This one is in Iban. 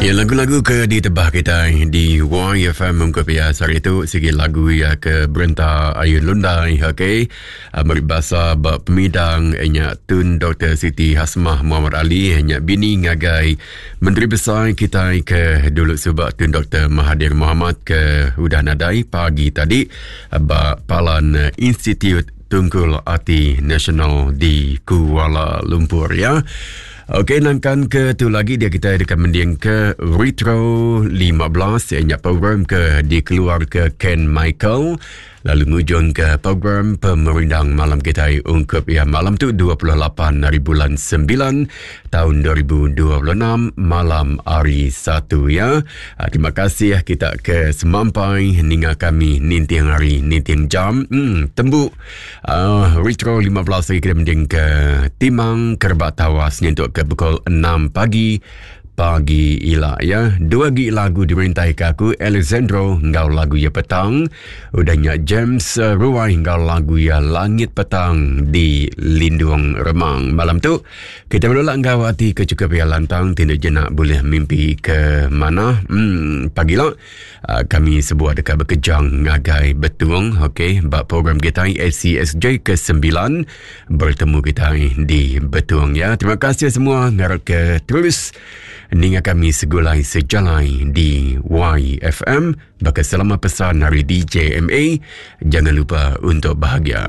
Ya lagu-lagu ke ditebah kita di YFM ungkup ya sehari itu sigi lagu ya ke berenta ayun lundai okey ah, meri basa ba pemidang nya Tun Dr Siti Hasmah Muhammad Ali nya bini ngagai Menteri Besai kita ke dulu suba Tun Dr Mahathir Mohamad ke udah nadai pagi tadi ba Palan Institut Tungkul Ati Nasional di Kuala Lumpur ya. Okey nangkan ke tu lagi dia kita deka mending ke Retro 15 ianya program ke dikeluar ke Ken Michael lalu ngujung ke program pemerindang malam kita ungkup ya malam tu 28 hari bulan 9 tahun 2026 malam hari Satu ya. Ah, terima kasih kita ke semampai ninga kami ninting hari ninting jam. Hmm, tembu uh, Retro 15 lagi kita mending ke Timang Kerbak Tawas nyentuk ke pukul 6 pagi pagi ila ya. Dua gi lagu dimerintai ke aku Alexandro enggau lagu ya petang. Udah nya James eh, Ruai enggau lagu ya Langit Petang di Lindung Remang. Malam tu Kita menolak enggau ati ke cukup ya lantang tindak jenak boleh mimpi ke mana. Hmm, pagi lah uh, kami sebuah dekat bekejang ngagai betung. Okey, bak program kita ACSJ ke-9 bertemu kita di Betung ya. Terima kasih semua ngarap ke terus ninga kami segulai sejalai di YFM. Baka selama pesan hari DJMA, jangan lupa untuk bahagia.